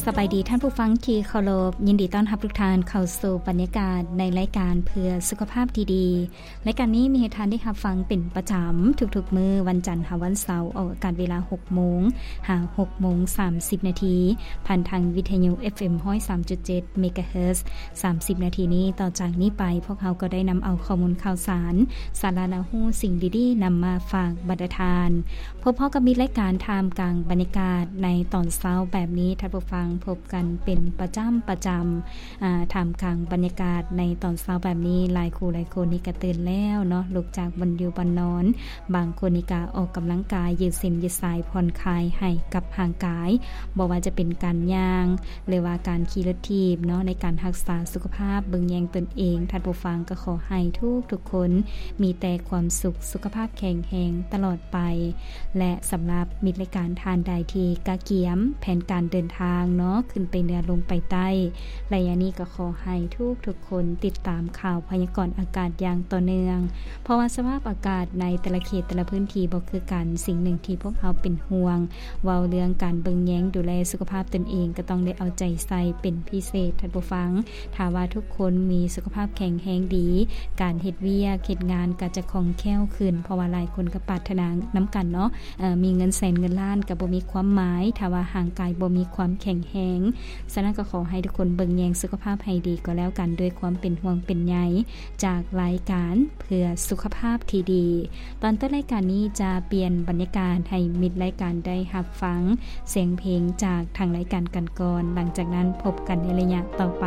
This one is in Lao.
ສະບາຍດີທ່ານຜູ້ຟັງທີ່ເຄົາລົບ, ຍິນດີຕ້ອນຮັບທຸກທ່ານເຂົ້າສູ່ບັນຍາກາດໃນລາຍການເພື່ອສຸຂະພາບທີ່ດີ. ລາຍການນີ້ມີໃຫ້ທ່ານໄດ້ຮັບຟັງເປັນປະຈຳທຸກໆມື້ ວັນຈັນຫາວັນເສົາ, ອອກອາກາດເວລາຫົກໂມງຫາຫົກໂມງສາມສິບນາທີ ຜ່ານທາງວິທະຍຸ ເອັຟເອັມ ຮ້ອຍສາມຈຸດເຈັດ ເມກາເຮີດ. ສາມສິບນາທີນີ້ ຕໍ່ຈາກນີ້ໄປ ພວກເຮົາກໍໄດ້ນຳເອົາຂໍ້ມູນຂ່າວສານ, ສາລະໜ້າຮູ້, ສິ່ງດີໆ ນຳມາຝາກບັນດາທ່ານ. ພົບພໍ້ກັບມິດລາຍການທ່າມກາງບັນຍາກາດໃນຕອນເຊົ້າແບບນີ້, ທ່ານຜູ້ຟັງ, ພົບກັນເປັນປະຈຳ, ປະຈຳ. ອ່າ ທ່າມກາງບັນຍາກາດໃນຕອນເຊົ້າແບບນີ້, ຫຼາຍຄູ່ຫຼາຍຄົນນີ້ກະຕື່ນແລ້ວເນາະ, ລຸກຈາກບ່ອນຢູ່ບ່ອນນອນ, ບາງຄົນນີ້ກະອອກກຳລັງກາຍ, ຢືດເສັ້ນຢືດສາຍ, ຜ່ອນຄາຍໃຫ້ກັບຮ່າງກາຍ, ບໍ່ວ່າຈະເປັນການຍ່າງ ຫຼືວ່າການຂີ່ລົດຖີບເນາະ, ໃນການຮັກສາສຸຂະພາບ, ເບິ່ງແຍງຕົນເອງ. ທ່ານຜູ້ຟັງ, ກໍຂໍໃຫ້ທຸກໆຄົນມີແຕ່ຄວາມສຸກ, ສຸຂະພາບແຂງແຮງຕະຫຼອດໄປ. ແລະ ສຳລັບມິດລາຍການທ່ານໃດທີ່ກະກຽມແຜນການເດີນທາງເນາະ, ຂຶ້ນໄປເໜືອ ລົງໄປໃຕ້, ໄລຍະນີ້ກໍຂໍໃຫ້ທຸກໆຄົນຕິດຕາມຂ່າວພະຍາກອນອາກາດຢ່າງຕໍ່ເນື່ອງ, ເພາະວ່າສະພາບອາກາດໃນແຕ່ລະເຂດແຕ່ລະພື້ນທີ່ບໍ່ຄືກັນ. ສິ່ງໜຶ່ງທີ່ພວກເຮົາເປັນຫ່ວງ ເວົ້າເລື່ອງການເບິ່ງແຍງດູແລສຸຂະພາບຕົນເອງ ກໍຕ້ອງໄດ້ເອົາໃຈໃສ່ເປັນພິເສດ, ທ່ານຜູ້ຟັງ. ຖ້າວ່າທຸກຄົນມີສຸຂະພາບແຂງແຮງດີ, ການເຮັດວຽກເຮັດງານກໍຈະຄ່ອງແຄ້ວຂຶ້ນ, ເພາະວ່າຫຼາຍຄົນກໍປາດຖະໜານຳກັນເນາະ, ເອີ ມີເງິນແສນເງິນລ້ານກໍບໍ່ມີຄວາມໝາຍ ຖ້າວ່າຮ່າງກາຍບໍ່ມີຄວາມແຂງແຮງ. ສະນັ້ນກໍຂໍໃຫ້ທຸກຄົນເບິ່ງແຍງສຸຂະພາບໃຫ້ດີກໍແລ້ວກັນ, ດ້ວຍຄວາມເປັນຫ່ວງເປັນໃຍຈາກລາຍການເພື່ອສຸຂະພາບທີ່ດີ. ຕອນຕົ້ນລາຍການນີ້ຈະປ່ຽນບັນຍາກາດໃຫ້ມິດລາຍການໄດ້ຮັບຟັງສຽງເພງຈາກທາງລາຍການກັນກ່ອນ, ຫຼັງຈາກນັ້ນພົບກັນໃນໄລຍະຕໍ່ໄປ.